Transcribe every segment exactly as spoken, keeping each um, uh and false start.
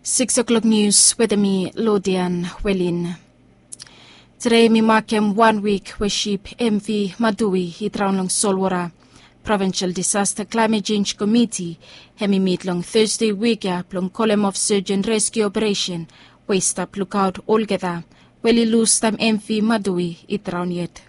Six o'clock nius wetem mi Lodian Welin. Tede mi makem wan wik we sip M V Madui i draon long solwota. Provinsel Disasta Klaemet Jenj Komiti hem i mit long Tasde wik ya blong kolem of sej en reskiu operesen we i stap lukaot olgeta we oli lus taem M V Madui i draon yet.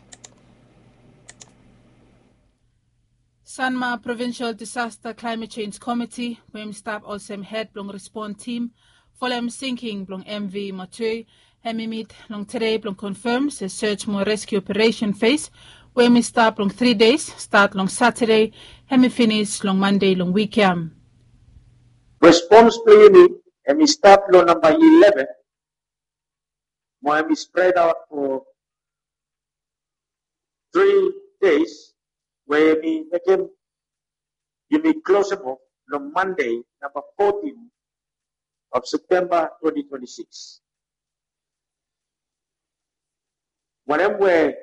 Sanma Provinsel Disasta Klaemet Jenj Komiti we hem i stap olsem hed blong respon tim folem sinking blong M V Matui hem i mit long tede blong konfam se sej mo reskiu operesen fes we hem i stap long tri des stat long Satade hem i finis long Mande long wik ya. Respons blong yumi hem i stat long namba ileven mo hem i spredaot fo tri des we hem i mekem yumi klosem of long Mande namba fotin of Septemba twenti twenti sikis. Wanem we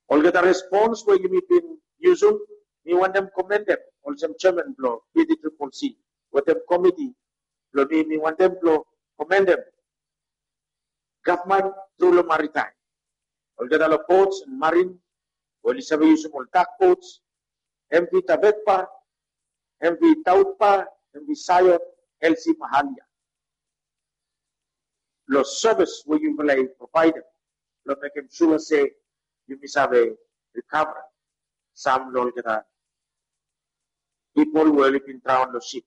olgeta respons we yumi bin yusum, mi wantem komendem olsem jeaman blong P D triple C wetem komiti blong mi, mi wantem blong komendem gavman tru long maritaem, olgeta long bots en marin we oli save yusum ol dak bots, M V Tavetpa, M V Tautpa, M V Sayot, L C Mahalia. Long sevis we yufala i provaedem blong mekem sua se yumi save rikavarem sam long olgeta pipol we oli bin draon long sip.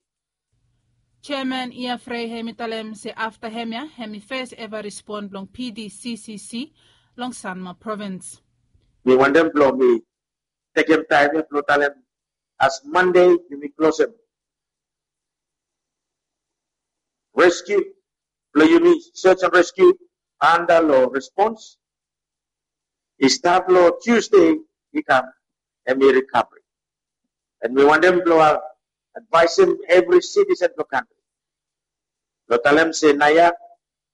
Jeaman Iafrei hem i talem se afta hemia hem i fes eva respon blong P D C C C long Sanma provins. Mi wantem blong mi tekem taem ya blong talem as Mande yumi klosem reskiu blong yumi, sej en reskiu anda long respons i stat long Tusde i kam hem i rikavri. En mi wantem blong advaesem evri sitisen blong kantri blong talem se naoia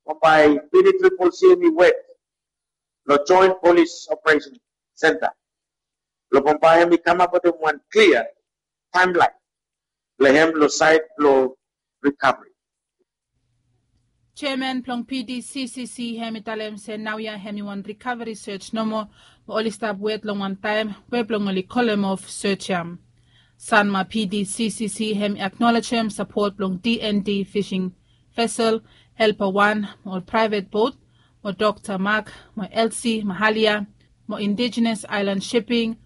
bambae P D triple C hem i wok long Joen Polis Operesen Senta blong bambae hem i kamap wetem wan klia taemlaen blong hem long saed blong rikavri. Jeaman blong P D C C C hem i talem se naoia hem i wan rikavri sej nomo we oli stap wet long wan taem we blong oli kolem of sej ya. Sanma P D C C C hem i aknolejem sapot blong D N D fising vesel, Helpa wan, mo ol praevet bot, mo Dokta Mak, mo L C Mahalia, mo Indijenes Aelan Siping,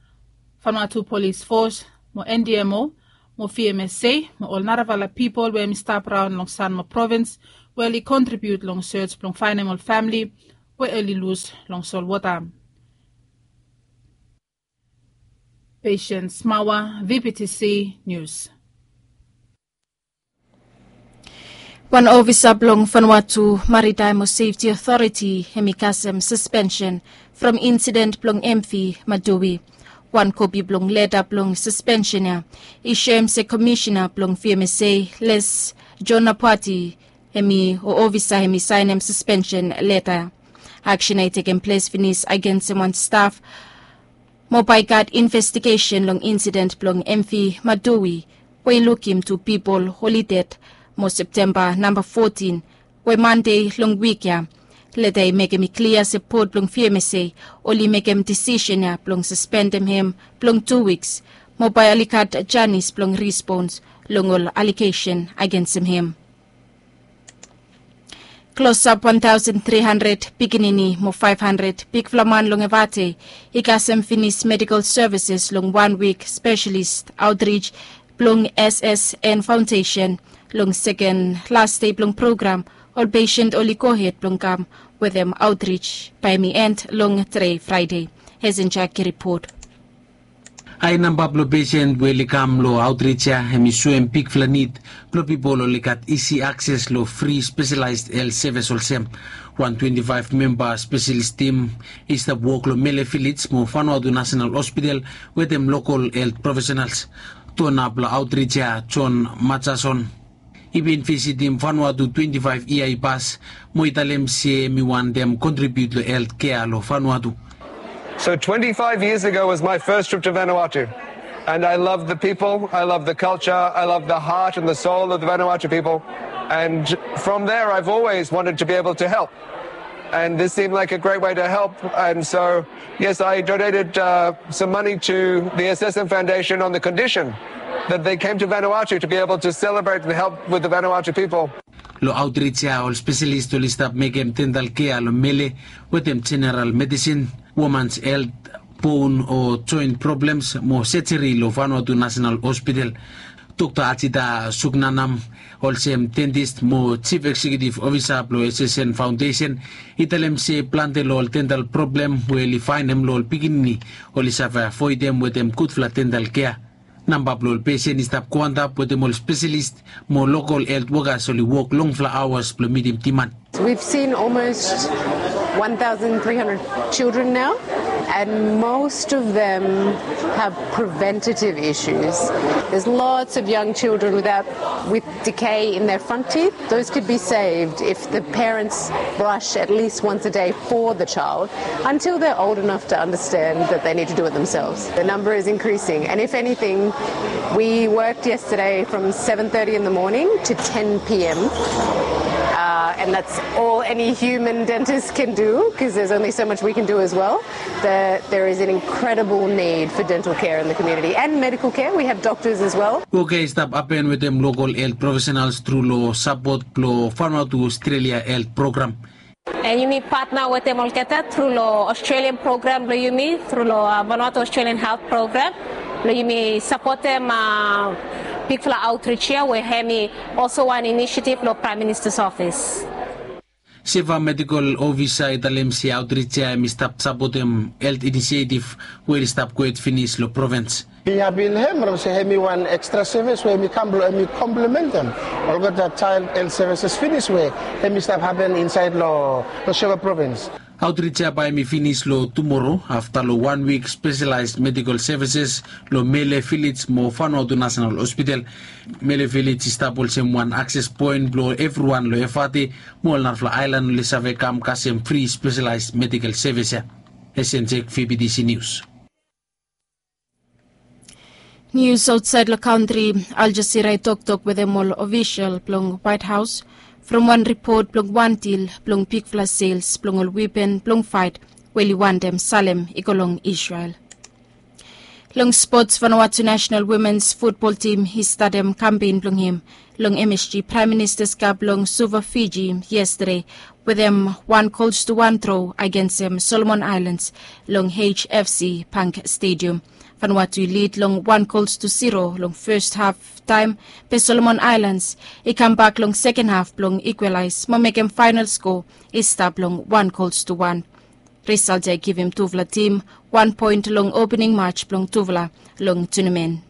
Vanuatu Polis Fos, mo N D M O, mo V M S A, mo ol narafala pipol we hem i stap raon long Sanma provins we oli kontribiut long sej blong faenem ol famle we oli lus long solwota. Patience Mawa, V P T C News. Wan ofisa blong Vanuatu Maritime Safety Authority hem i kasem saspensen from insident blong M V Madui. Wan kopi blong leta blong saspensen ya i soem se komisena blong V M S A Les John Napwati hem i o ofisa hem i saenem saspensen leta. Aksen ya i tekem ples finis agensem wan staf mo bae i gat investigesen long insident blong M V Madui we i lukim tu pipol oli ded mo Septemba namba fotin we Mande long wik ya. Leta i mekem i klia se bot blong V M S A oli mekem disisen ya blong saspendem hem blong tu wiks mo bae oli gat janis blong rispons long ol alegesen agensem hem. Klosap wan taosen tri handred pikinini mo faef handred bigfala man long Evate i kasem finis medikol sevises long wan wik spesialis aotrij blong S S N Faondesen. Long seken las dei blong program ol pesen oli gohed blong kam wetem aotrij bae hem i en long tede Fraede. Hesenjak i ripot. Hae namba blong pesen we oli kam long aotrij ya hem i soem bigfala nid blong pipol oli gat isi akses long fri spesialaes helt sevis olsem wan twenti faef memba spesialis tim i stap wok long Mele Vilej mo Vanuatu Nasenal Hospital wetem lokol helt profesenals. Dona blong aotrij ya John Majason i bin visitim Vanuatu twenti faef yia i pas mo i talem se hem i wantem kontribiut long helt kea long Vanuatu. So twenty-five years ago was my first trip to Vanuatu. And I love the people, I love the culture, I love the heart and the soul of the Vanuatu people. And from there, I've always wanted to be able to help. And this seemed like a great way to help. And so, yes, I donated uh, some money to the S S M Foundation on the condition that they came to Vanuatu to be able to celebrate and help with the Vanuatu people. Lo outreach ya ol spesialis oli stap mekem dental kea lo mele wetem jeneral medisin, womans helt, bon o joint problems mo sejeri lo Vanuatu National Hospital. Dokta Ajita Suknanam, olsem dentist mo chief executive officer blo S S N Foundation, i talem se plante lo ol dental problem we oli faenem lo ol pikinini oli save avoidem wetem gudfala dental kea. Namba blo ol pesen i stap go antap wetem ol spesialis mo lokol helt wokas oli wok longfala aoas blo mitim diman. We've seen almost one thousand three hundred children now, and most of them have preventative issues. There's lots of young children without with decay in their front teeth. Those could be saved if the parents brush at least once a day for the child until they're old enough to understand that they need to do it themselves. The number is increasing, and if anything, we worked yesterday from seven thirty in the morning to ten p.m. Uh, and that's all any human dentist can do, because there's only so much we can do as well. That there is an incredible need for dental care in the community and medical care. We have doctors as well. Wok ya i stap hapen wetem lokol helt profesionals tru lo sapot blo Vanuatu Australia helt program. And yumi partner wetem olgeta tru lo Australian program blo yumi, tru lo uh, Vanuatu Australian Health Program, blo yumi sapotem uh, bigfala outreach ya we hemi also wan initiative lo Prime Minister's Office. Seva Medical Officer i talem se outreach ya hemi stap sapotem helt inisiatif we oli stap gwet finis lo provins. Hemi hapi lo hem from se hemi wan extra service we hemi kam blo hemi komplementem olgeta child health services finis we hemi stap hapen insaed lo Shillong provins. Outreach ya bae hemi finis lo tumoro afta lo wan wik spesialaes medical services lo Mele Village mo Vanuatu National Hospital. Mele Village i stap olsem wan akses poen blo evriwan lo Efate mo ol narafala aelan oli save kam kasem fri spesialaes medical service ya. S N Z V B T C News. Nius aotsaed lo kantri. Al Jazeera i toktok wetem ol ofisol blong White House from wan ripot blong wan dil blong bigfala sels blong ol wepen blong faet we oli wantem salem i go long Israel. Long spots, Vanuatu National Womens Futbol Tim i statem kampen blong hem long M S G Praem Ministas Kap long Suva, Fiji yestade wetem wan gols tu wan dro agensem Solomon Aelans long H F C Bank Stadium. Vanuatu i lid long wan gols tu ziro long fes haf taem, be Solomon Aelans i kambak long seken haf blong ikwalaes mo mekem faenol skoa i stap long wan gols tu wan. Risalt ya i givim tufala tim wan poen long opening match blong tufala long tunamen.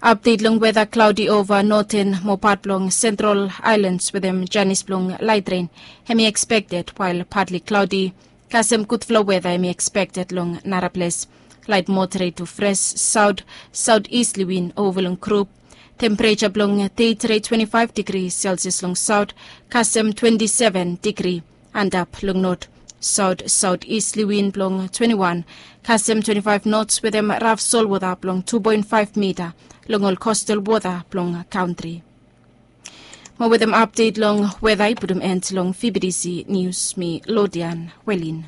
Apdet long weta, klaodi ova noten mo pat blong Sentral Aelans wetem janis blong laet ren hemi ekspekted, wael patli klaodi kasem gudfala weta hemi ekspekted long nara ples. Laet moderet tu fres saot saotistli win ova long grup. Tempereja blong dei tret twenti faef digri Celsius long saot kasem twenti seven digri antap long not. Saot saotistli win blong twenti wan kasem twenti faef nots wetem raf solwota blong tu poen faef mita long ol kostal wota blong kantri. Mo wetem apdet long weta i putum en long V B T C Nius, mi Lodian Welin.